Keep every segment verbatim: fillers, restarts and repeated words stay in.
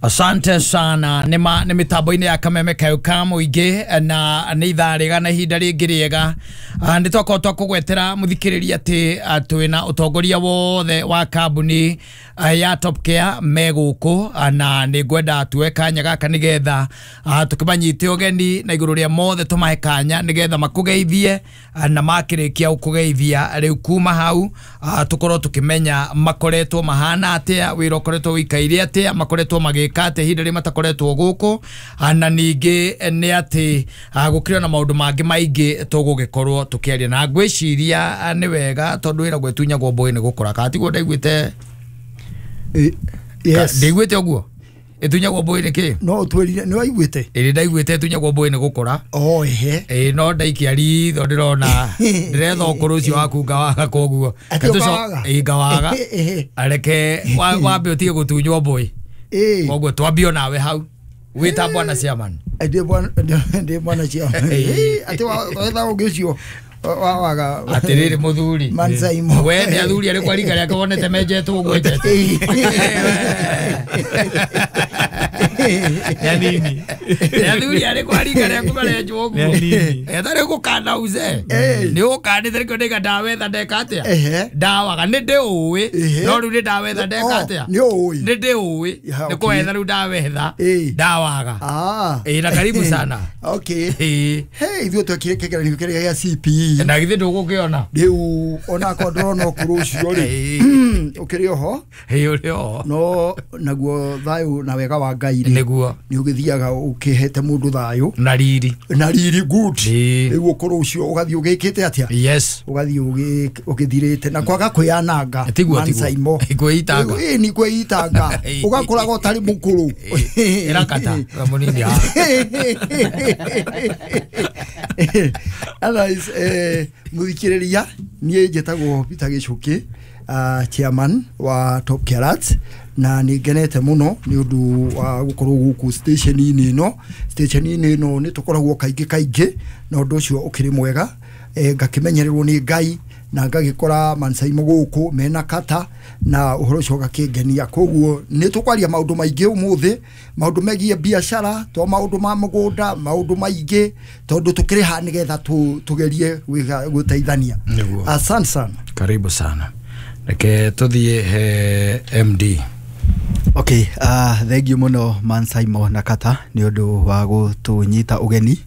Asante sana. Nĩ ma nĩ mĩtambo-inĩ ya Kameme Kayo ka mũingĩ, na nĩ ithaa rĩega na ihinda rĩngĩ rĩega. Ah, nĩ twakorwo twakũgwetera mũthikĩrĩria atĩ ah, twĩna ũtongoria wothe wa kambuni ah, ya Top Care me gũkũ, ah, na nĩ ngwenda tuoe kanya gaka nĩgetha ah, tũkĩmanyite ũgeni na igũrũ rĩa mothe tũmahe kanya nĩgetha makũgeithie, ah, na makĩrĩkia gũkũgeithia rĩu kuma hau ah, tũkorwo tũkĩmenya makoretwo mahana atĩa, wĩra ũkoretwo wĩikaire atĩa, makoretwo magĩka atĩa ihinda rĩrĩa matakoretwo gũkũ, ah, na ningĩ eh, nĩ atĩ ah, gũkĩrĩ na maũndũ mangĩ maingĩ tũgũgĩkorwo tũkĩaria. Na ngwĩciria ah, nĩ wega tondũ wĩra gwĩtunyagwo mbũĩ nĩ gũkũra, kana tiguo ndaiguĩte? Eh, yes. Ndaiguĩte ũguo, ĩtunyagwo mbũĩ nĩ kĩ? No ũtwĩrire nĩ waiguĩte. Ĩrĩ, ndaiguĩte ĩtunyagwo mbũĩ nĩ gũkũra. O ehe. Ĩĩ, no ndaikia ritho ndĩrona ndĩretha ũkũrũ ũcio waku ngawaga, koguo Atĩ ũkawaga? Ĩĩ, ngawaga. Ehe. Reke wa- wambe ũtige gũtunywo mbũĩ. Ĩĩ. Koguo twambio nawe hau wĩta bwana chairman. Ndĩ bwana, ndĩ bwana cia atĩ wetha ũngĩ ũcio wa waga. Atĩrĩrĩ mũthuri. Man Saimo. We nĩ athuri arĩkũ arika rĩake wonete menjetwo ũguo enjetwo? Nĩ anini. Nĩ athuri arĩkũ arika rĩaku marenjwo ũguo? Nĩ anini. Etha rĩu gũkana uze nĩ ũkanĩte nĩkĩo ndĩga ndawetha ndeka atĩa. Ehe. Ndawaga nĩ ndĩũĩ. Ehe. No rĩu nĩ ndawetha ndeka Oh, atĩa. nĩ ũĩ. Nĩ ndĩũĩ. Ya, nĩ okay. kwetha rĩu ndawetha. Ĩĩ. Ndawaga. Ah. Ĩĩ, na karibu sana. Okay. Ĩĩ. Hey, ithuĩ twekire kĩgeranio kĩrĩa gĩa C P E. Na githĩ ndũgũkĩona? Rĩu onakorwo ndĩrona ũkũrũ ũcio rĩ, Ĩĩ. ũkĩrĩ oho. Ĩĩ, ũrĩ oho. No naguo thayũ na wega wa Ngai rĩ, nĩguo nĩ ũgĩthiaga ũkĩhete mũndũ thayũ na riri. Na riri good. Ĩĩ. Rĩu ũkũrũ ũcio ũgathiĩ ũgĩkĩte atĩa? Yes. Ũgathiĩ ũgĩ- ũgĩthirĩte na kwaga kwĩyananga. Tiguo, Man tiguo. Saimo. Kwĩitanga. Ĩĩ, ni kwĩitanga, ũgakũraga ũtarĩ mũkũrũ. Ĩrakata mũnini haha. Otherwise, eh, mũthikĩrĩria, niĩ njĩtagwo Peter Gĩcũkĩ, uh, chairman wa Top Care, na nĩ ngenete mũno nĩ ũndũ wa gũkorwo gũkũ station-inĩ ĩno. Station-inĩ ĩno nĩ tũkoragwo kaingĩ kaingĩ, na ũndũ ũcio ũkĩrĩ mwega. eh, ngakĩmenyererwo nĩ Ngai na ngagĩkora Mansaimo gũkũ mena kata na ũhoro ũcio ũgakĩngenia. Koguo nĩ tũkwaria maũndũ maingĩ ũmũthĩ, maũndũ megiĩ biacara, to maũndũ ma mũgũnda, maũndũ maingĩ, tondũ tũkĩrĩ haha nĩgetha tũ- tũgerie gwĩka- gũteithania. Nĩguo. Asante sana. Karibu sana. Reke tũthiĩ he M D. Okay, uh, thank you mũno Man Saimo na Kata nĩ ũndũ wa gũtũnyita ũgeni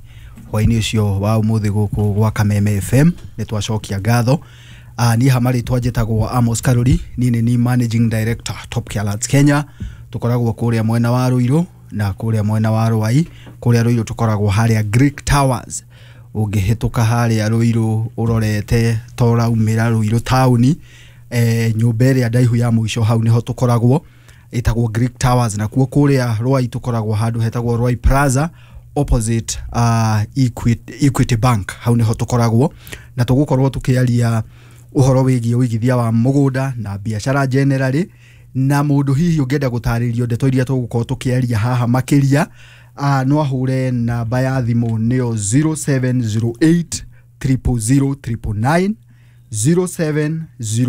hwainĩ ũcio wa ũmũthĩ gũkũ gwa Kameme F M. Nĩ twacokia ngatho. uh, niĩ hama rĩtwa njĩtagwo Amos Karuri, niĩ nĩ ni managing director Top Care Lads Kenya. Tũkoragwo kũrĩa mwena wa Ruiru na kũrĩa mwena wa Ruai. Kũrĩa Ruiru tũkoragwo harĩa Greek Towers. Ũngĩhĩtũka harĩa Ruiru ũrorete ta ũraumĩra Ruiru taũni, eh, nyũmba ĩrĩa ndaihu ya mũico hau nĩho tũkoragwo, ĩtagwo Greek Towers. Nakuo kũrĩa Ruai tũkoragwo handũ hetagwo Ruai Plaza, opposite uh, Equity, Equity Bank. Hau nĩho tũkoragwo na tũgũkorwo tũkĩaria ũhoro wĩgiĩ ũigithia wa mũgũnda na biacara generally. Na mũndũ hihi ũngĩenda gũtarĩrio ndeto iria tũgũkorwo tũkĩaria haha makĩria, uh, no ahũre namba ya thimũ, nĩyo zero seven zero eight triple zero triple nine, zero seven zero